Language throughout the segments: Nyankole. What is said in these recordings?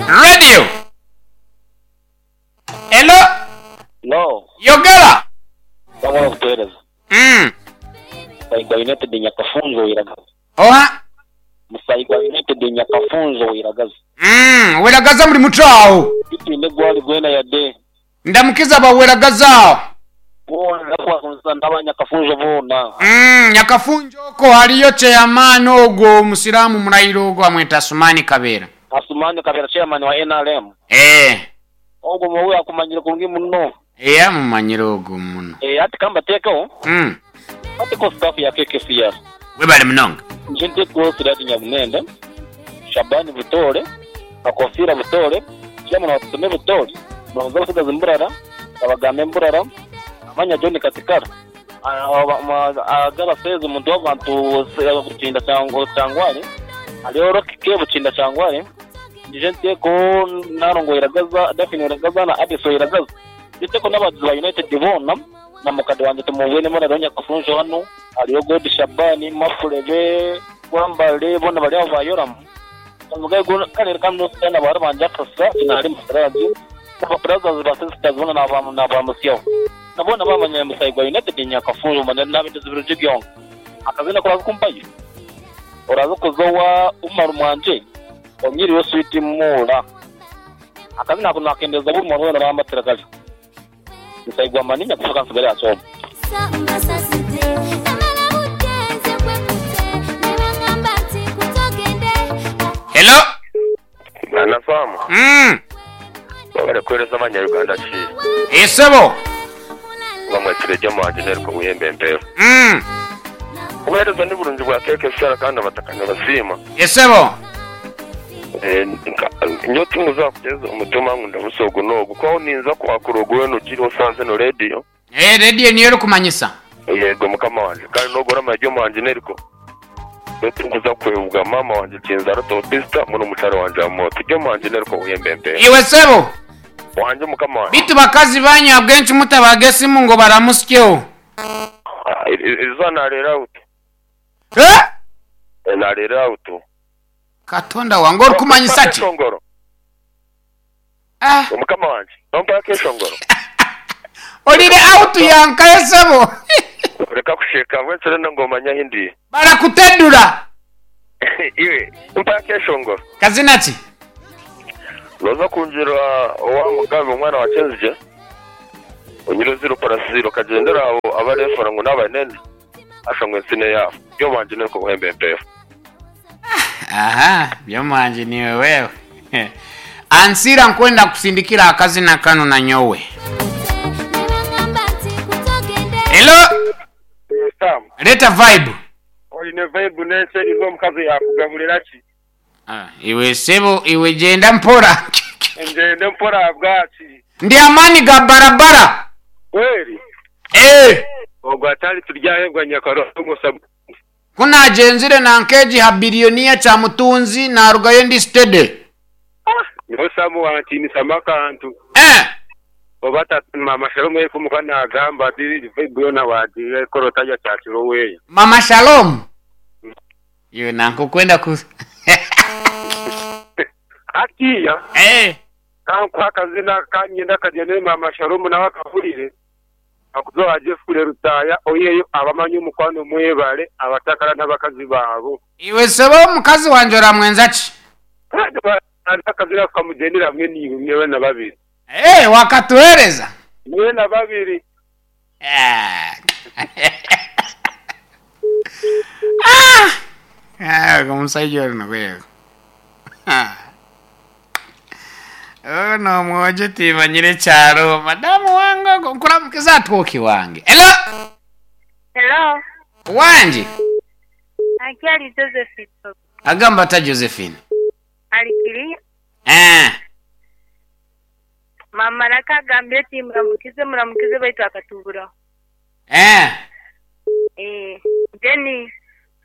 Radio. Hello. No. Yogera. Wabula obuteereza. Mm. Musaigwa United Nyakafunjo Wiragaza. Oha? Musaigwa United Nyakafunjo Wiragaza. Mm, Weragaza muri muto aho. Titwine gwali gwena yade. Ndamukiza aba Weragaza aho. Boona ndakubakunisa n'aba Nyakafunjo boona. Mm, Nyakafunjo okwo hariyo chairman ogwo omusiraamu murayira ogwo bamweta Asumani Kabera. Asumani Kabera chairman wa nrm. Eh. Ogwo muwe akumanyire kurungi muno. Eh amumanyire ogwo muno. Eh hati kambateekeho. Mm. Batekeho staff ya KKCR. Webale munonga. Nje ntekeho Siraj Nyabunende, Shaban Butoore, Kakofiira Butoore, Chairman wa Tusome Butoore, Muranguzi w'abatsigazi Mburara, Kabagambe Mburara, Amanya John Katikara, Agaba Seezi omuntu w'abantu Bukinda Kyangwari, hariho Rocky K Bukinda Kyangwari, Ndije nteeko Nalongo Iragaza, Daphne Iragaza na Adeso Iragaza. Ndije nteeko n'abagizi ba United boona na mukade wangye tumubwine Murare Nyakafunjo hanu, hariyo God Shabani, Mafurebe, Gwambare boona bari aho ba Yoramu. Kare reka nuse na bahara bangye Akasa, Kinahari Musiraji na ba brothers ba sisters boona nabamusyaho. Na boona bamanya Musai gwa United Nyakafunjo manya nabendeza ebirungi byonka. Akazina ku oraza kumpayo? Oraza kuza owa Umaru Mwanje Onyiriwe Sweet Muura. Akazina ako nakendeza buri muntu weena orambatira kare. Musai gwa Mani Nyakufa kansigare aha kyoma. Hello. Mwana Sam, Mm. webale kuhereza abanya Uganda ki Esebo. bamwetsire gye omuhangi Neriko Buyembe Empeeho. Obuhereza ni burungi bwa KKCR kandi abataka nibasiima. Esebo. Eh, nyowe tinkuza kuteeza omutima ngu ndabusa ogu n'ogu, ku aho ninza kwakura ogu weena ogiire osanze eno rediyo. Eh, rediyo niyo erikumanyisa. Yego mukama wangye, kandi n'ogu oramanya gye omuhangi Neriko. Nyowe tinkuza kwebwa maama wangye Kinzaro Teopista hamwe n'omukyara wangye Amooti. Gye omuhangi Neriko Buyembe Empeeho. Iwe sebo. Wangye mukama wangye. Beitu bakazi banyu ahabw'enki mutabaga esimu ngu baramutsyeho? Erizooba naareera auto. Eh? Naareera auto. Katonda wange orikumanyisa ki? Akeshongoro. Ah. Mukama wangye, nompa akeshongoro. Orire auto yankahe sebo? Reka kusheka, mbwenu orenda ngu omanye ahi ndi. Barakutedura. Iwe, mpa akeshongoro. Kazina ki? Nooza kungira owa Mugabe omwana wa Kyenzigye, onyire ziro parasiiro okagyendera aho abareefora ngu n'abanene, hasha ngu ensi n'eyaabo. By'omuhangi n'orukuba ohemba empeeho. Aha, Byomuhangi niiwe wewe. Ansiira nkwenda kusindikira akazina kanu nanyowe. Hello, Sam, leeta vibe. oine vibe n'ensi eriho omukazi yaakugaburira ki? Ah, iwe sebo iwe gyenda mpora. Ngyende mpora ahabwaki? Ndi amaani ga barabara. Kweri? Eh. Ogwo atari turyahebwa Nyakarongo Sabu. Ku naagyenzire nanka egi ha Billionaire Kyamutunzi naarugayo ndi steady. Nyowe Samu wantiinisamu akantu. Eh. Oba ta Maama Shalom yaikumuka naagamba ati vibe yoona waagikora otarya kyakiro weeya. Mama Shalom? Iwe nanka okwenda ku. Hatiiya Eh. ka nkuhe akazina ka niinyenda kagyende Maama Shalom nawe akahurire. Akuza Jeffrey Lutaaya oiheyo abamanyi omukwano mwebale abatakara n'abakazi baabo. Iwe sebo omukazi wangye oramwenza ki? Kandi akazina ako kamugyendere hamwe naiwe mwena babiri. Eeh wakatuhereza? Mwena babiri. Ah, ogu omusaija onu wewe. Onu omwojo timanyire kyaro. Madamu wange ogu nkuramukiza atwoki wange. Hello. Hello. Wangi. Akyali Josephine. Agamba ata Josephine? Alikiri. Eh. Mama naka agambire ati muramukize muramukize baitu akatuburaho. Eh. Eh, then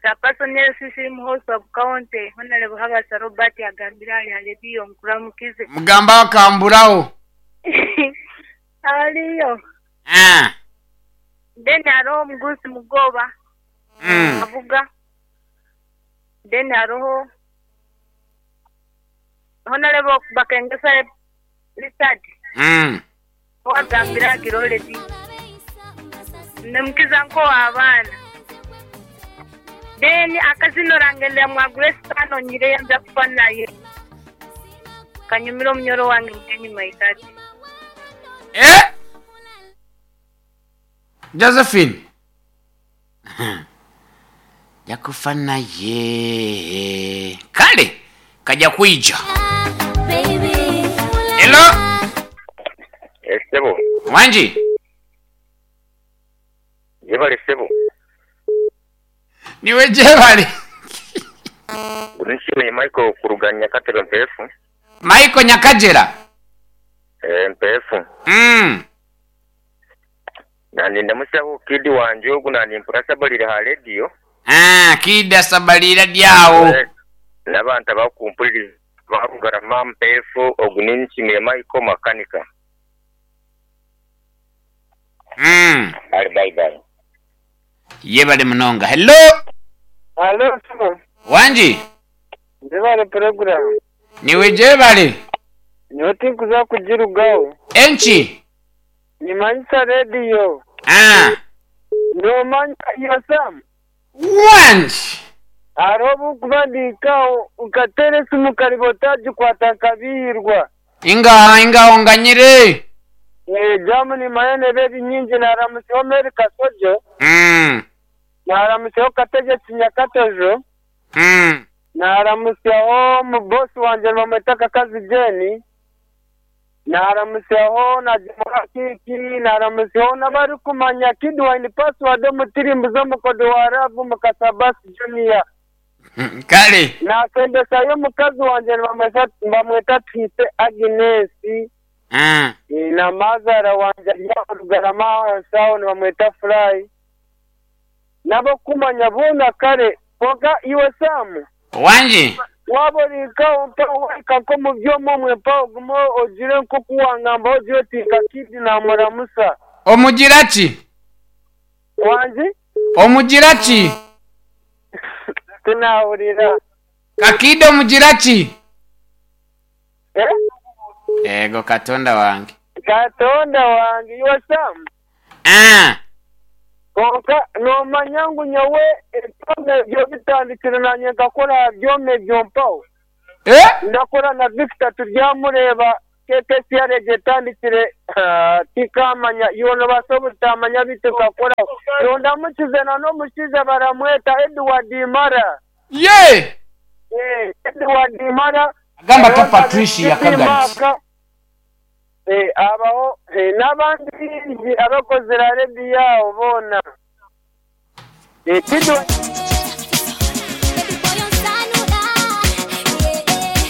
Chairperson LCC Muhoozi Sub County Honorable Habasa Robert agambire ahari ha rediyo nkuramukize. Mugambe akamburaho. Ariyo. Eh. Then hariho omugurusi Mugoba avuga. Then hariho Honourable Bakengesa Richard owagambire agire already. Nemukiza nk'ow'abaana. Then akazina orangendera mwa Grace Kano nyireyo nza kufa naye. Kanyumire omunyoro wange Mugenyi Maitati. Eh! Josephine. Nja kufa naye. Kale kaja kwija. Hello. Esebo. Wangi. Jebale sebo. Niwe jebale. Nshimiye Michael kuruga Nyakatebe Mpefu. Michael Nyakajera. Eh, Mpefu. Nandi ndamusaho kidi wanje ogu nandi mpurasa balire ha radio. Ah, kida sabalira dyawo. Eh, n'abantu abakumpuliriza barugarama Mpefu ogu ni Nshimiye Michael makanika. Ali bye bye. Yebale munonga. Hello. Halo, sebo. Wangi. Njebale program. Niwe jebale. Nyowe tinkuza kugirugaho. Enki. Nimanyisa rediyo. Ah. Nomanya iyo Sam. Wangi. Hariho obu nkuba ndihikaho nkateera esimu kariba otagikwata nkabiihirwa. Inga inga onganyire. Eh, jamu nimanya neeba eri nyingi naaramutsyaho Mary Kasojo, naaramutsyaho Kategyeki Nyakatejo, naaramutsyaho omubosi wangye nibamweta Kakazi Jane, naaramutsyaho na Jemora Kiki, naaramutsyaho n'abarikumanya Kid Wine Password omutirimbuzi omukodo wa Love Mukasa Bass Junior. Kale. Naasembesayo omukazi wangye nibamweta Twise Agnes. Na mazaara wangye ari aha Rugarama ahansi aho nibamweta Fly. N'abokumanya boona kare kwonka iwe Sam. Wangi. Waaba ori nkaho mpaho wahika nk'omu byoma omwe mpaho ogume ogire nk'oku wangambaho ogire oti nka Kid naamuramusa. Omugira ki? Wangi? Omugira ki? Tinahurira. Kakid omugira ki? Eh? Ego Katonda wange. Katonda wange iwe Sam. Ah. Kwonka noomanya ngu nyowe ebyoma ebyo bitandikire naanye nkakora aha byoma ebyo mpaho. Eh? Ndakora na Victor turyamureeba KKCR egyo etandikire tinkamanya iwe nobaasa obutamanya beitu nkakoraho. Nondamukize na n'omushaija baramweta Edward Mara. Ye! Eh, Edward Mara. Agamba ta Patricia Kagati. Eh, abaho n'abandi baingi abakozire aha rediyo aho boona. Eh, Kidwa-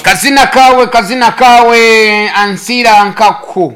Kazina kawe, kazina kawe, ansira nkaku.